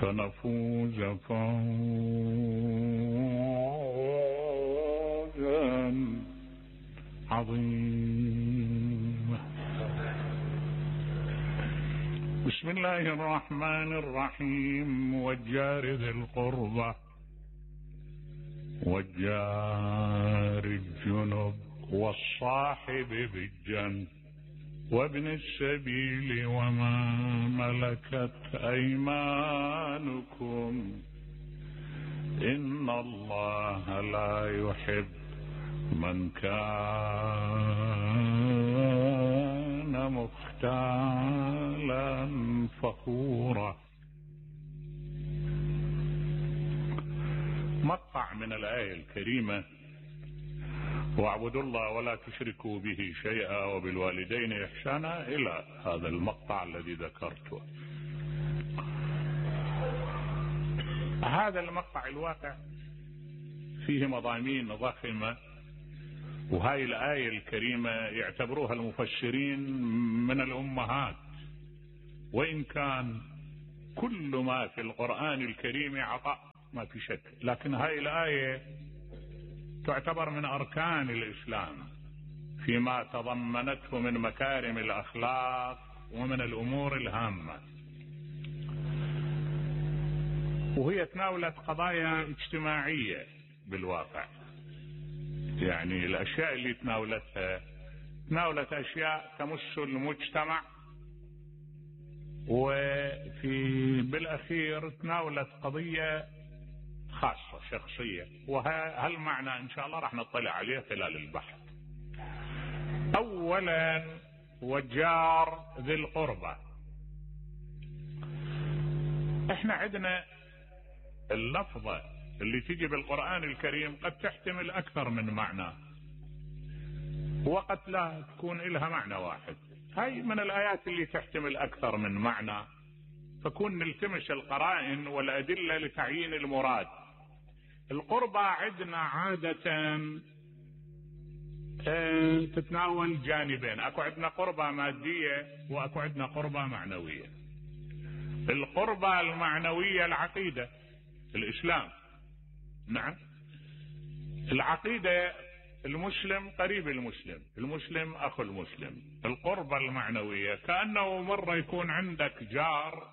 فنفوز فوزا عظيما. بسم الله الرحمن الرحيم. والجار ذي القربى والجار الجنب والصاحب بالجنب وابن السبيل وما ملكت أيمانكم إن الله لا يحب من كان مختالا فخورا. مقطع من الآية الكريمة: واعبدوا الله ولا تشركوا به شيئا وبالوالدين إحسانا، إلى هذا المقطع الذي ذكرته. هذا المقطع الواقع فيه مضامين ضخمة، وهاي الآية الكريمة يعتبروها المفسرين من الأمهات، وإن كان كل ما في القرآن الكريم عطاء ما في شك، لكن هاي الآية تعتبر من أركان الإسلام فيما تضمنته من مكارم الأخلاق ومن الأمور الهامة، وهي تناولت قضايا اجتماعية بالواقع. يعني الأشياء اللي تناولت أشياء تمس المجتمع، بالأخير تناولت قضية خاصة شخصية، وهالمعنى إن شاء الله راح نطلع عليه خلال البحث. أولا والجار ذي القربى. احنا عندنا اللفظة اللي تجي بالقرآن الكريم قد تحتمل أكثر من معنى، وقد لا تكون إلها معنى واحد. هاي من الآيات اللي تحتمل أكثر من معنى، فكون نلتمس القرائن والأدلة لتعيين المراد. القربى عندنا عادة تتناول جانبين، اكو عندنا قربى مادية واكو عندنا قربى معنوية. القربى المعنوية العقيدة، الإسلام، نعم، العقيدة المسلم قريب المسلم، المسلم أخو المسلم. القربى المعنوية كأنه مرة يكون عندك جار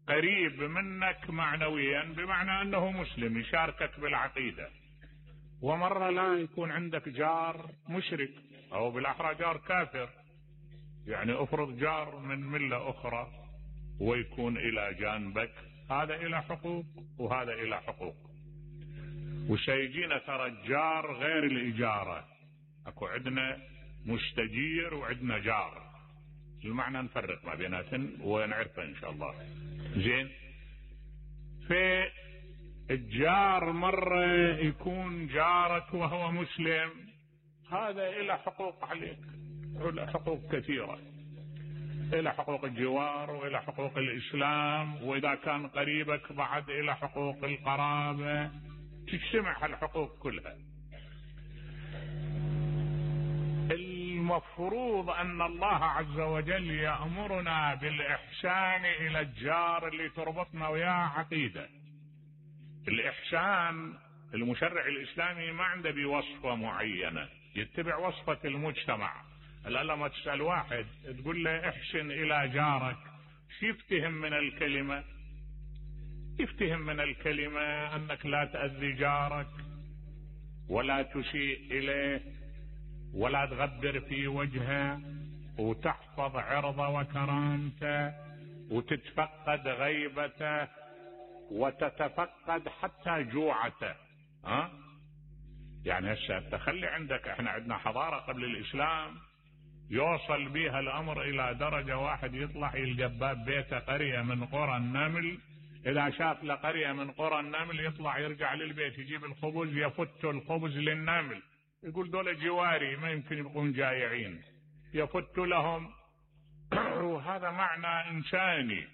قريب منك معنويا بمعنى أنه مسلم يشاركك بالعقيدة، ومرة لا يكون عندك جار مشرك أو بالأحرى جار كافر. يعني أفرض جار من ملة أخرى ويكون إلى جانبك، هذا إلى حقوق وهذا إلى حقوق. وسيجينا ترى الجار غير الإجارة، أكو عندنا مستجير وعندنا جار، المعنى نفرق ما بيناتن ونعرفه إن شاء الله. زين، في الجار مرة يكون جارك وهو مسلم، هذا إلى حقوق عليك، إلى حقوق كثيرة، إلى حقوق الجوار وإلى حقوق الإسلام، وإذا كان قريبك بعد إلى حقوق القرابة، تجتمع الحقوق كلها. المفروض أن الله عز وجل يأمرنا بالإحسان إلى الجار اللي تربطنا وياه عقيدة. الإحسان المشرع الإسلامي ما عنده بوصفة معينة، يتبع وصفة المجتمع. لما تسأل واحد تقول له احسن إلى جارك، شو يفتهم من الكلمة؟ يفتهم من الكلمة أنك لا تأذي جارك ولا تسيء إليه ولا تغبر في وجهه، وتحفظ عرضه وكرامته، وتتفقد غيبته، وتتفقد حتى جوعته. يعني هسه تخلي عندك، احنا عندنا حضارة قبل الإسلام يوصل بها الأمر إلى درجة واحد يطلع يلقى باب بيته قرية من قرى النمل، إذا شاف لقرية من قرى النمل يطلع يرجع للبيت يجيب الخبز، يفت الخبز للنمل، يقول دول جواري ما يمكن يبقون جائعين، يفت لهم. وهذا معنى إنساني.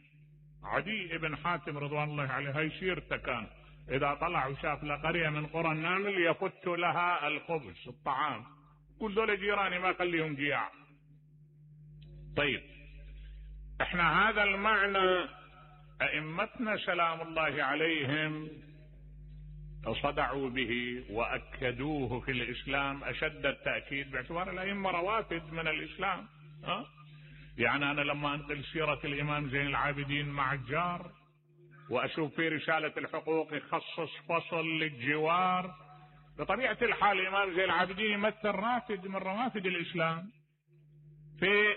عدي بن حاتم رضوان الله عليه هاي سيرته كان، إذا طلع وشاف لقرية من قرى النمل يفت لها الخبز الطعام، يقول دول جيراني ما خليهم جياع. طيب احنا هذا المعنى أئمتنا سلام الله عليهم صدعوا به وأكدوه في الإسلام أشد التأكيد، باعتبار الأئمة روافد من الإسلام. يعني أنا لما أنقل سيرة الإمام زين العابدين مع الجار وأشوف في رسالة الحقوق يخصص فصل للجوار، بطبيعة الحال الإمام زين العابدين يمثل رافد من روافد الإسلام، في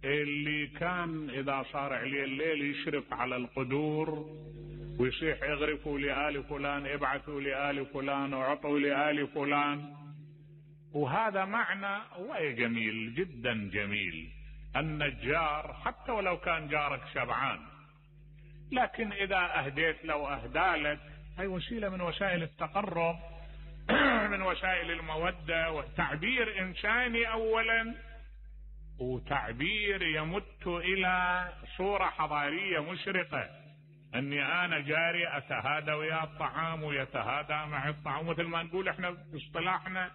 اللي كان إذا صار عليه الليل يشرف على القدور ويصيح اغرفوا لآل فلان، ابعثوا لآل فلان، وعطوا لآل فلان. وهذا معنى جميل جدا جميل، أن الجار حتى ولو كان جارك شبعان، لكن إذا أهديت له أهدالك، هي وسيلة من وسائل التقرب، من وسائل المودة، وتعبير إنساني أولا، وتعبير يمت إلى صورة حضارية مشرقة، أني أنا جاري أتهادى ويا الطعام ويتهادى مع الطعام، مثل ما نقول إحنا باصطلاحنا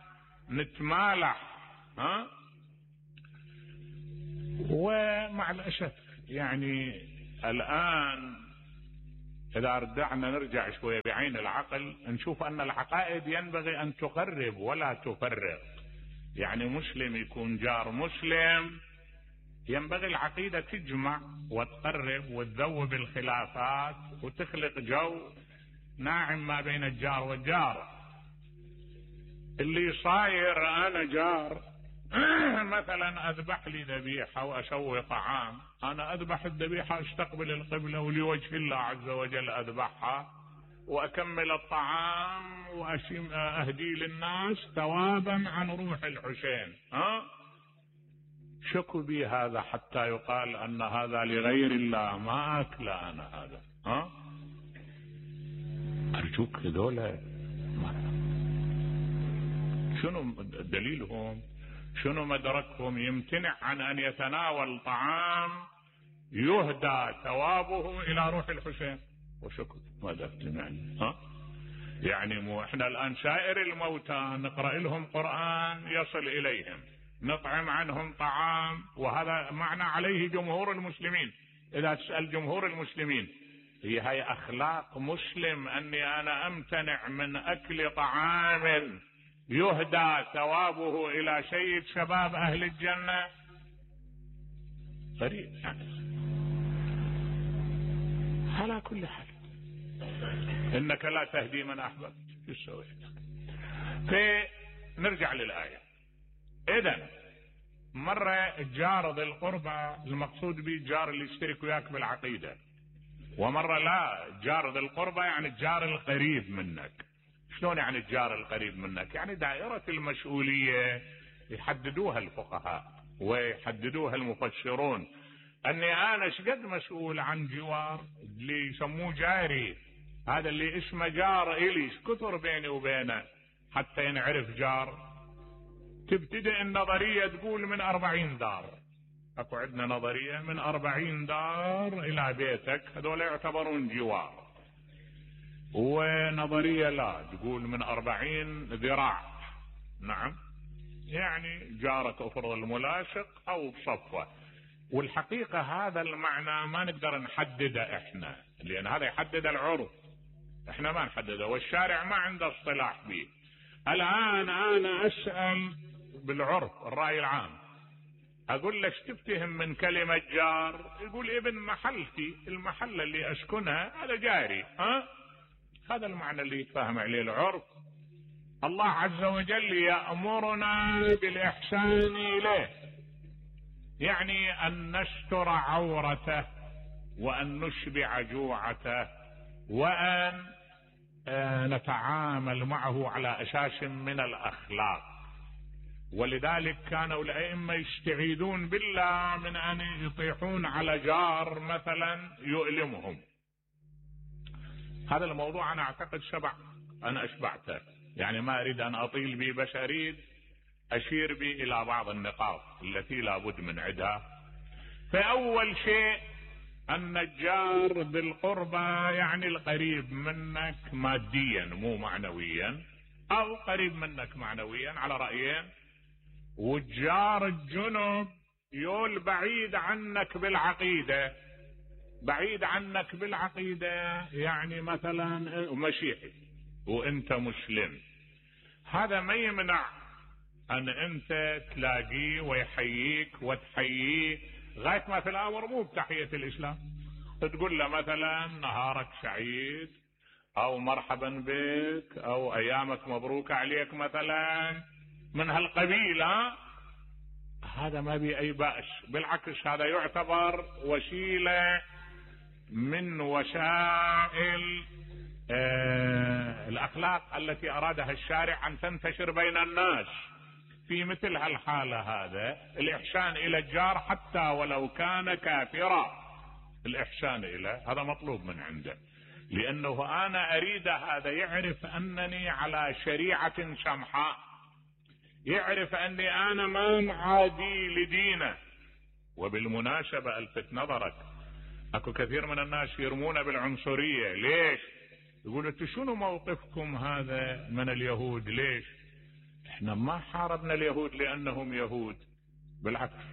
نتمالح. ومع الأسف يعني الآن إذا رجعنا نرجع شوية بعين العقل نشوف أن العقائد ينبغي أن تقرب ولا تفرق. يعني مسلم يكون جار مسلم، ينبغي العقيدة تجمع وتقرب وتذوب الخلافات وتخلق جو ناعم ما بين الجار والجار. اللي صاير أنا جار مثلا أذبح لي ذبيحة وأسوي طعام، أنا أذبح الذبيحة استقبل القبلة ولوجه الله عز وجل أذبحها وأكمل الطعام وأهدي للناس ثوابا عن روح الحسين. شكوا بي هذا حتى يقال أن هذا لغير الله، ما أكل أنا هذا. أرجوك هذولا شنو دليلهم؟ شنو مدركهم؟ يمتنع عن أن يتناول طعام يهدى ثوابه إلى روح الحسين، وشكر ماذا تمعني؟ يعني مو احنا الآن سائر الموتى نقرأ لهم قرآن يصل إليهم، نطعم عنهم طعام، وهذا معنى عليه جمهور المسلمين. إذا تسأل جمهور المسلمين هي أخلاق مسلم أني أنا أمتنع من أكل طعام يهدى ثوابه إلى سيد شباب أهل الجنة؟ غريب يعني. على كل حال إنك لا تهدي من أحببت. فنرجع للآية. إذن مرة الجار ذي القربى المقصود به الجار اللي يشترك وياك بالعقيدة، ومرة لا، جار ذي القربى يعني الجار القريب منك. شلون يعني الجار القريب منك؟ يعني دائرة المسؤولية يحددوها الفقهاء ويحددوها المفسرون، أني أنا شقد مسؤول عن جوار اللي يسموه جاري، هذا اللي اسمه جار إلي، كثر بيني وبينه حتى ينعرف جار. تبتدئ النظرية تقول من 40 دار، اكو عندنا نظرية من 40 دار إلى بيتك هذول يعتبرون جوار، ونظرية لا تقول من 40 ذراع. نعم، يعني جارك افرض الملاصق او بصفوة. والحقيقة هذا المعنى ما نقدر نحدده احنا، لان هذا يحدد العرف، احنا ما نحدده، والشارع ما عنده اصطلاح به. الان انا اسأل بالعرف الرأي العام، اقول له ايش تفتهم من كلمة جار؟ يقول ابن محلتي، المحلة اللي اسكنها هذا جاري. هذا المعنى اللي يتفاهم عليه العرف. الله عز وجل يأمرنا بالإحسان إليه، يعني أن نستر عورته وأن نشبع جوعته وأن نتعامل معه على أساس من الأخلاق. ولذلك كانوا الأئمة يستعيذون بالله من أن يطيحون على جار مثلا يؤلمهم. هذا الموضوع أنا أعتقد أنا أشبعته، يعني ما أريد أن أطيل به، بس أريد أشير به إلى بعض النقاط التي لا بد من عدها. فأول شيء أن الجار بالقربى يعني القريب منك ماديا مو معنويا، أو قريب منك معنويا على رأيين. والجار الجنب يول بعيد عنك بالعقيدة، بعيد عنك بالعقيدة، يعني مثلا مسيحي وانت مسلم، هذا ما يمنع ان انت تلاقيه ويحييك وتحييه غاية ما في الامر مو بتحية الاسلام، تقول له مثلا نهارك سعيد او مرحبا بك او ايامك مبروك عليك مثلا من هالقبيل. هذا ما بي اي بأس، بالعكس هذا يعتبر وسيلة من وسائل الاخلاق التي ارادها الشارع ان تنتشر بين الناس. في مثل هالحالة هذا الاحسان الى الجار حتى ولو كان كافرا، الاحسان اليه هذا مطلوب من عنده، لانه انا اريد هذا يعرف انني على شريعة سمحاء، يعرف اني انا ما معادي لدينه. وبالمناسبة الفت نظرك، اكو كثير من الناس يرمون بالعنصرية. ليش؟ يقولوا انتوا شنو موقفكم هذا من اليهود؟ ليش؟ احنا ما حاربنا اليهود لانهم يهود، بالعكس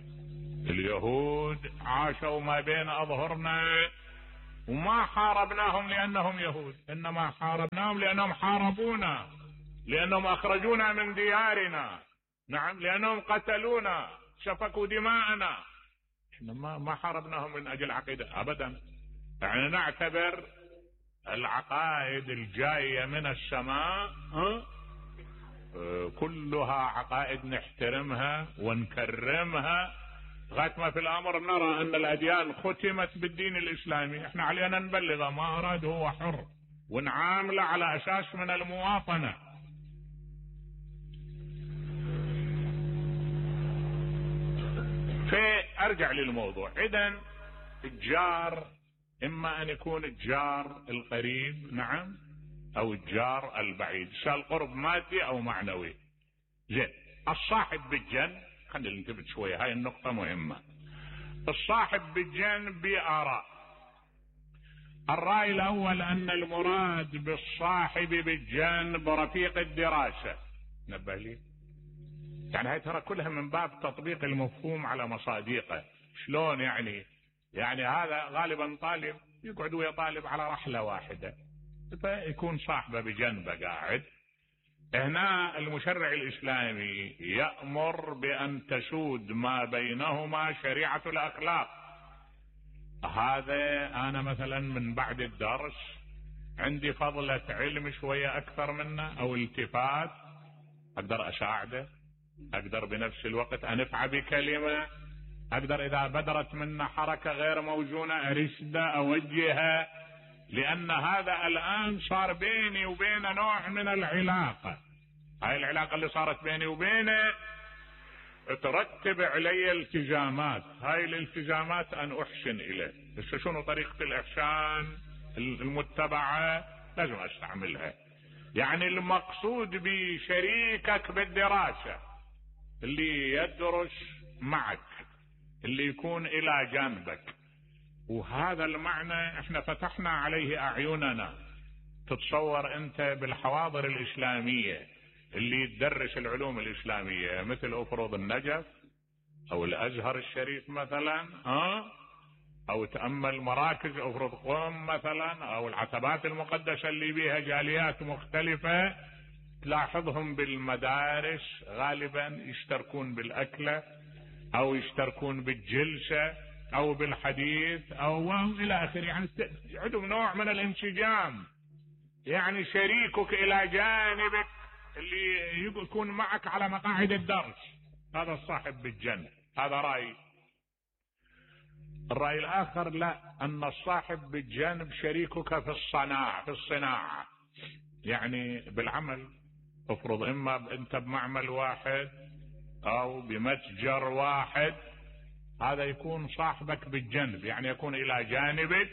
اليهود عاشوا ما بين اظهرنا وما حاربناهم لانهم يهود، انما حاربناهم لانهم حاربونا، لانهم اخرجونا من ديارنا، نعم، لانهم قتلونا سفكوا دماءنا. احنا ما حاربناهم من اجل عقيدة ابدا. يعني نعتبر العقائد الجاية من السماء كلها عقائد نحترمها ونكرمها لغاية ما في الامر نرى ان الاديان ختمت بالدين الاسلامي، احنا علينا نبلغه، ما اراد هو حر، ونعامله على اساس من المواطنة. فارجع للموضوع. اذن الجار اما ان يكون الجار القريب، نعم، او الجار البعيد، سواء قرب مادي او معنوي. زين، الصاحب بالجنب، خلينا ننتبه شوية، هاي النقطة مهمة. الصاحب بالجنب بآراء. الرأي الاول ان المراد بالصاحب بالجنب رفيق الدراسة. نبه لي، يعني هاي ترى كلها من باب تطبيق المفهوم على مصادقه. شلون يعني؟ يعني هذا غالبا طالب يقعد ويا طالب على رحلة واحدة، فيكون صاحبه بجنبه قاعد. هنا المشرع الإسلامي يأمر بأن تسود ما بينهما شريعة الأخلاق. هذا أنا مثلا من بعد الدرس عندي فضلة علم شوية أكثر منه أو التفات، أقدر أساعده، أقدر بنفس الوقت أنفع بكلمة، أقدر إذا بدرت منه حركة غير موزونة أرشده أوجهه، لأن هذا الآن صار بيني وبينه نوع من العلاقة. هاي العلاقة اللي صارت بيني وبينه ترتب علي التزامات، هاي الالتزامات أن أحسن إليه. بس شنو طريقة الإحسان المتبعة؟ لازم أستعملها. يعني المقصود بشريكك بالدراسة اللي يدرس معك، اللي يكون إلى جانبك، وهذا المعنى احنا فتحنا عليه أعيننا. تتصور أنت بالحواضر الإسلامية اللي تدرس العلوم الإسلامية مثل أفرض النجف أو الأزهر الشريف مثلا، أو تأمل مراكز أفرض قوم مثلا، أو العتبات المقدسة اللي بيها جاليات مختلفة، تلاحظهم بالمدارس غالبا يشتركون بالأكلة أو يشتركون بالجلسة أو بالحديث أو إلى آخره. يعني عندهم نوع من الانسجام. يعني شريكك إلى جانبك اللي يكون معك على مقاعد الدرس، هذا الصاحب بالجنب. هذا رأي. الرأي الآخر لا، أن الصاحب بالجانب شريكك في الصناعة، يعني بالعمل. افرض إما أنت بمعمل واحد أو بمتجر واحد، هذا يكون صاحبك بالجنب، يعني يكون إلى جانبك،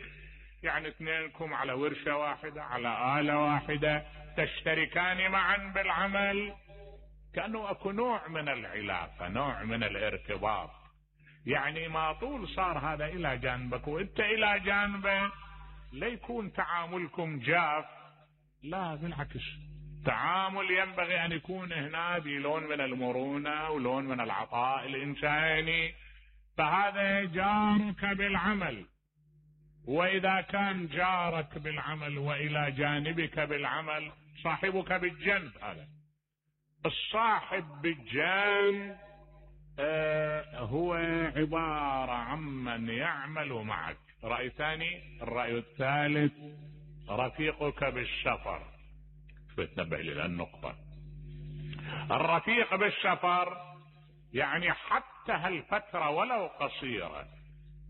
يعني اثنينكم على ورشة واحدة، على آلة واحدة، تشتركان معا بالعمل، كأنه أكو نوع من العلاقة، نوع من الارتباط. يعني ما طول صار هذا إلى جانبك وإنت إلى جانبه، لا يكون تعاملكم جاف، لا بالعكس، تعامل ينبغي أن يكون هنا بلون من المرونة ولون من العطاء الإنساني. فهذا جارك بالعمل، وإذا كان جارك بالعمل وإلى جانبك بالعمل صاحبك بالجنب. هذا الصاحب بالجنب هو عبارة عمن يعمل معك. رأي ثاني. الرأي الثالث رفيقك بالسفر. تنبه إلى النقطة. الرفيق بالسفر يعني حتى هالفترة ولو قصيرة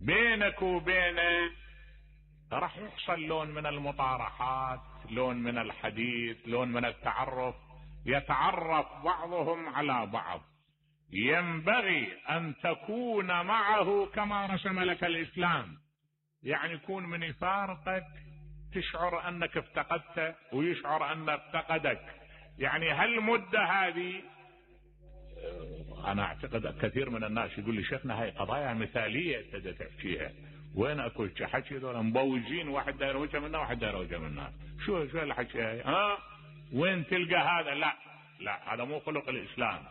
بينك وبينه راح يحصل لون من المطارحات، لون من الحديث، لون من التعرف، يتعرف بعضهم على بعض. ينبغي أن تكون معه كما رسم لك الإسلام، يعني يكون من يفارقك تشعر أنك افتقدته ويشعر أنه افتقدك. يعني هالمدة هذه أنا أعتقد كثير من الناس يقول لي شيخنا هاي قضايا مثالية أنت تحكيها، وين أكو حكي ذولا مبوجين، واحد داير وجه منا واحد داير وجه منا، شو الحكي هاي؟ وين تلقى هذا؟ لا هذا مو خلق الإسلام.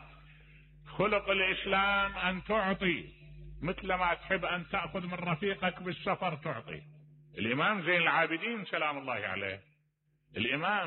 خلق الإسلام أن تعطي مثل ما تحب أن تأخذ من رفيقك بالسفر تعطي. الإمام زين العابدين سلام الله عليه، الإمام